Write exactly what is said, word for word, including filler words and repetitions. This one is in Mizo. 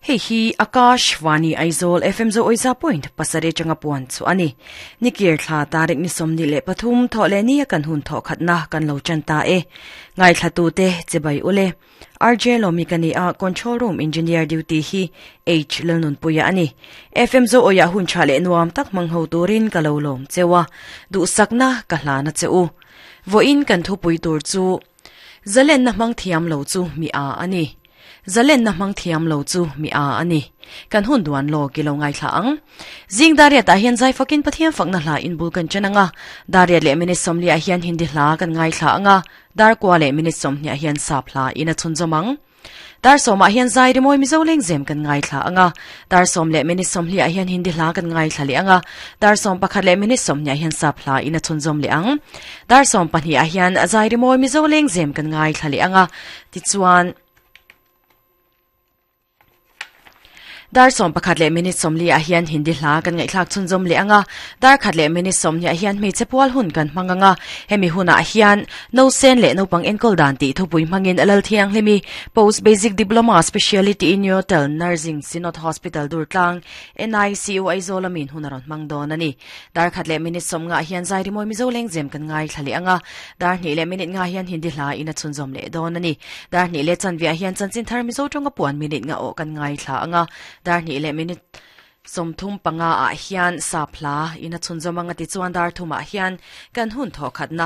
Hei hi Akashvani Aizawl F M zo oiza point pasare changa puan chu ani. Nikir thla tarik ni somni le pathum tho le ni kan hun tho khatna kan lo chan ta e. Ngai thla tu te chebai ule. R J Lomi kani a, control room engineer duty hi H Lalnun puya ani. F M zo oya hun cha le nuam tak mang ho turin ka lo lom chewa. Du sakna ka hlana cheu. Vo in kan thu pui tur chu zalen na mang thiam lo chu mi a ani. Zalen na mang thiam lo chu mi a ani. Kan hun duan lo ki lo ngai thla ang. Zing daria ta hian zai fakin Pathian fakna hla in bul kan chananga. Daria le minute somli a hian Hindi hla kan ngai thla anga. Dar kwa le minute somni a hian sap hla ina chun zomang. Dar soma hian zai ri moi Mizo leng zem kan ngai thla anga. Dar som le minute somli a hian Hindi hla kan ngai thla le anga. Dar som pakhat le minute somni a hian sap hla ina chun zom le ang. Dar som pahnih a hian zai ri moi Mizo leng zem kan ngai thla le anga. Ti chuan dar som pakhat le minute somli a hian Hindi hla kan ngai thlak chun zom le anga. Dar khat le minute somni a hian hmeichhe pual hun kan hmanganga. Hemi huna hian no sen le naupang enkol dan ti thupui hmangin Alal Thiang hlimi Post Basic Diploma Speciality in Neonatal Nursing, Synod Hospital Durtlang, N I C U Aizawl amin hunaron hmang don ani. Dar khat le minute som nga hian zai rimoi Mizo leng zem kan ngai thlali anga. Dar hni le minute nga hian Hindi hla ina chun zom le don ani. Dar hni le chanvia hian chanchin thar Mizo tonga puan minute nga o kan ngai thla anga. Dar hni le minute somthum panga a hian sap hla ina chunzawm anga. Ti chuan dar thuma hian kan hun tho khatna